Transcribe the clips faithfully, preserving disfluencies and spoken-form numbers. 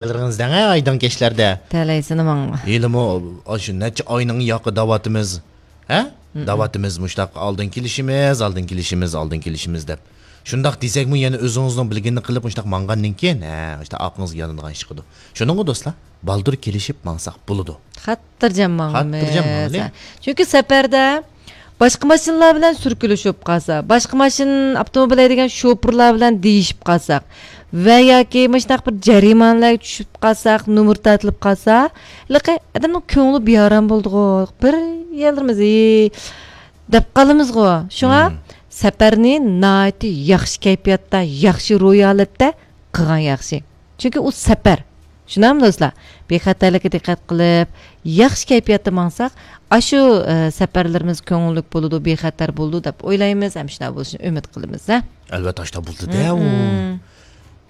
بىلىرىڭىز دەڭە ئايدىڭ كەچلەردە. تەلەيسىنى ماڭا. ھېلىمۇ ئاشۇ نەچچە ئاينىڭ ياقى داۋاتىمىز. ھە؟ داۋاتىمىز مۇشتاق ئالدىن كېلىشىمىز، ئالدىن كېلىشىمىز، ئالدىن كېلىشىمىز دەپ. شۇنداق دېسەكمۇ يەنە ئۆزىڭىزنىڭ بىلگىنىنى قىلىپ مۇشتاق ماڭغاندىن كېيىن، ھە، مۇشتاق ئاقىڭىزغا يالىنىدىغان ئىش چىقىدۇ. شۇنىڭغا دوستلار، بالدۇر كېلىشىپ ماڭساق بولىدۇ. خاتىرجەم ماڭىمىز. خاتىرجەم ماڭىلى. چۈنكى سەپەردە باشقا ماشىنىلار بىلەن سۈركىلىشىپ قالسا، باشقا ماشىنا، ئاپتوموبىل ھەيدىگەن شوپۇرلار بىلەن دېيىشىپ قالساق ۋە ياكى مۇشۇنداق بىر جەرىمانىلەرگە چۈشۈپ قالساق، نومۇر تارتىلىپ قالسا، ھېلىقى ئادەمنىڭ كۆڭلى بىئارام بولىدىغۇ، بىر يەرلىرىمىز، «ئى» دەپ قالىمىزغۇ. شۇڭا سەپەرنى ناھايىتى ياخشى كەيپىياتتا، ياخشى روھىي ھالەتتە قىلغان ياخشى. چۈنكى ئۇ سەپەر. شۇنداقمۇ دوستلار؟ بىخەتەرلىككە دىققەت قىلىپ، ياخشى كەيپىياتتا ماڭساق، ئاشۇ، ئە، سەپەرلىرىمىز كۆڭۈللۈك بولىدۇ، بىخەتەر بولىدۇ دەپ ئويلايمىز ھەم شۇنداق بولۇشىنى ئۈمىد قىلىمىز، ھە؟ ئەلۋەتتە، ئاشۇنداق بولىدۇ-دە ئۇ.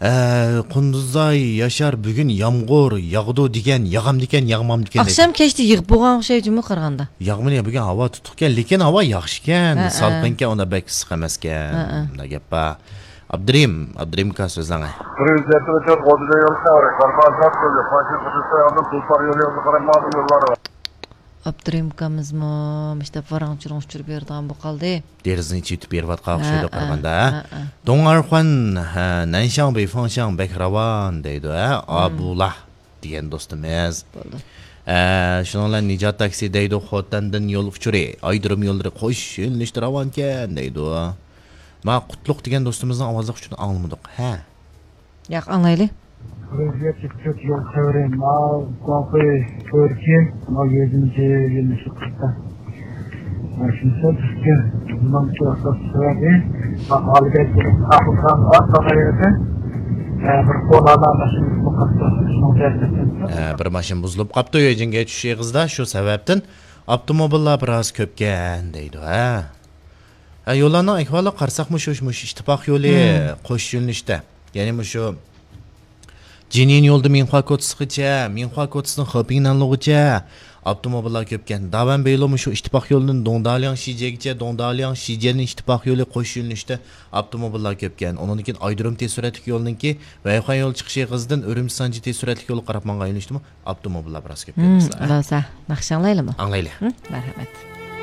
ئە، قۇندۇزاي ياشار، بۈگۈن يامغۇر ياغىدۇ دېگەن، ياغامدىكەن، ياغمامدىكەن دەيدۇ. ئاخشام كەچتە يىغىپ بولغان ئوخشايدۇ جۇمۇ قارىغاندا. ياغمىدى، بۈگۈن ھاۋا تۇتۇقكەن، لېكىن ھاۋا ياخشىكەن، سالقىنكەن، ئۇنداق بەك ئىسسىق ئەمەسكەن. ئۇنداق گەپ بار. ئابدۇرېھىم، ئابدۇرېھىم ئاكا، سۆزلەڭ. بىر يۈز يەتتە ئۈچ ئوتتۇز يەتتە يول خەۋىرى، باربار زات يولى، پاشا خۇدۇسى ئالدىن تۇلپار يولى يولى قاراپ ماڭىدۇ يوللار. ئابدۇرېھىم ئاكىمىزمۇ مۇشۇنداق ۋاراڭ-چۇرۇڭ ئۇچۇرۇپ بېرىدىغان بولۇپ قالدى. دېرىزىنى ئېچىۋېتىپ بېرىۋاتقان ئوخشايدۇ قارىغاندا، ھە؟ دۇڭئارخۇەن، ھە، نەنشاڭ بېيفېڭشاڭ بەك راۋان دەيدۇ، ھە؟ ئابۇلا دېگەن دوستىمىز. بولدى. ئە، شۇنىڭ بىلەن نىجات تاكسى دەيدۇ، خوتەندىن يول ئۇچۇرى، ئايرودروم يوللىرى قوش يۆنىلىشتە راۋانكەن دەيدۇ. ما قۇتلۇق دېگەن دوستىمىزنىڭ ئاۋازلىق ئۇچۇرىنى ئاڭلىمىدۇق. ھە. ياق، ئاڭلايلى. بىر يۈز يەتتە ئۈچ يول خەۋىرى، ماۋ، گۇاڭخۇي، تۈركىي، ماۋ، يېزىمىزى يۆنىلىشى قىلسا. شۇنىسى بىزگە بۇنىڭ سەۋەبى، ھالىدە ئاقلىقان ئارقا قايرىدى. بىر كولالا ماشىنىسى قاتتىق شۇنىڭ تەسىرىدىن. ھە، بىر ماشىنا بۇزۇلۇپ قاپتۇ، يۆجىنگە چۈشۈش ئېغىزىدا، شۇ سەۋەبتىن ئاپتوموبىللار بىراز كۆپكەن دەيدۇ، ھە. ھە، يوللارنىڭ ئەھۋالىغا قارىساقمۇ شۇ، مۇشۇ ئىتتىپاق يولى قوش يۆنىلىشتە. يەنى مۇشۇ جىنيىن يولىدا مىنخۇا كوچىسىغىچە، مىنخۇا كوچىسىدىن خېپىڭنەنلۇغىچە ئاپتوموبىللار كۆپكەن. داۋەن بېيلو مۇشۇ ئىتتىپاق يولىدىن دۇڭدالياڭ شىجيەگىچە، دۇڭدالياڭ شىجيەن ئىتتىپاق يولى قوش يۆنىلىشتە ئاپتوموبىللار كۆپكەن. ئۇنىڭدىن كېيىن ئايرودروم تېز سۈرئەتلىك يولىنىڭكى ۋەيخۇەن يولى چىقىش ئېغىزىدىن ئۈرۈمچى سانجى تېز سۈرئەتلىك يولىغا قاراپ ماڭغان يۆنىلىشتىمۇ ئاپتوموبىللار بىراز كۆپكەن، مم، دوستلار. بولسا، ناخشا ئاڭلايلىمۇ؟ ئاڭلايلى. مم، مەرھەمەت.